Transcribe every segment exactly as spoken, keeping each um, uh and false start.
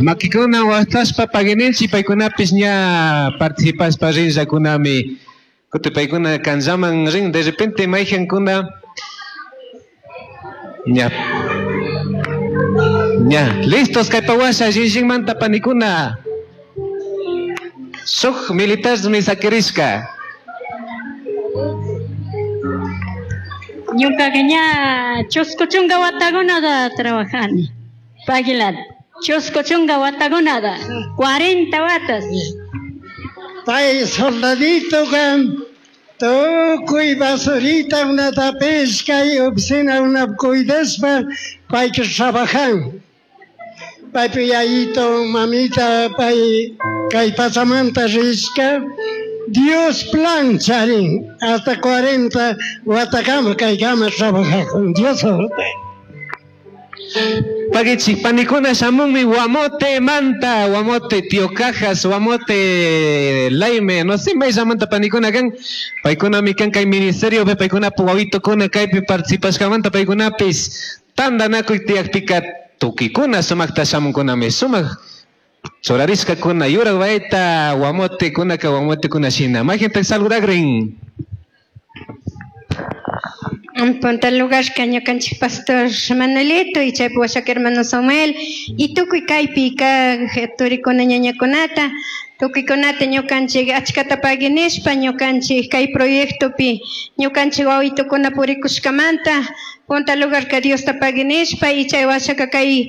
Makikuna waqtashpa paguininchik paykunapis ña participashpa rinllakunami. Kuti paykuna kanllaman rin, de repente mayqankuna ña ña listos kaypa washa llinllinmanta panikuna. Shuk militarmi sakirishka. Ñukaqa ña chusku chunka watakunata trabajani. Paguilata. Chusku chunka watakunata. cuarenta watas. Pay soldadito kan tukuy basurita unata pesca y oficina una cuidaspa payka trabajan. Paypi yayito mamita pay kay pachamanta rishka Dios plan charin hasta cuarenta watakama kaykama trabajakun Dios. Paguichik panikuna shamunmi Guamote manta, Guamote Tío Cajas, Guamote Laime, no sé mayllamanta panikuna kan, paykunami kan kay ministerio pe paykuna wawitokuna kaypi participashkamanta paykunapis tantanakuy tiyakpika tukikuna sumakta shamunkunami sumak churarishkakuna yurak bayta Guamote kunaka Guamote kuna shina. Mayqintak saludakrin. En punta lugar ñukanchik pastor Manuelito y chaypi washaka hermano Samuel y tukuy kaypi kaq turikuna ñañakunata tukuykunata ñukanchik achkata paguinishpa ñukanchik kay proyectopi ñukanchik wawitokuna purikushkamanta punta lugar ka Diosta paguinishpa y chay washaka kay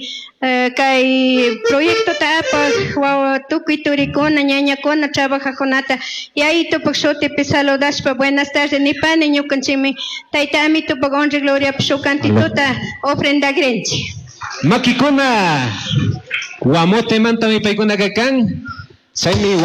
kay proyectota apaq wawa tukuy turikuna ñañakuna trabajajkunata yayitupak shutipi saludashpa buenas tardes nipani ñukanchikmi tayta amitupak honra y gloriapi shuk cantituta ofrendakrinchik. Makikuna Guamote mantami paykunaka kan chaymi.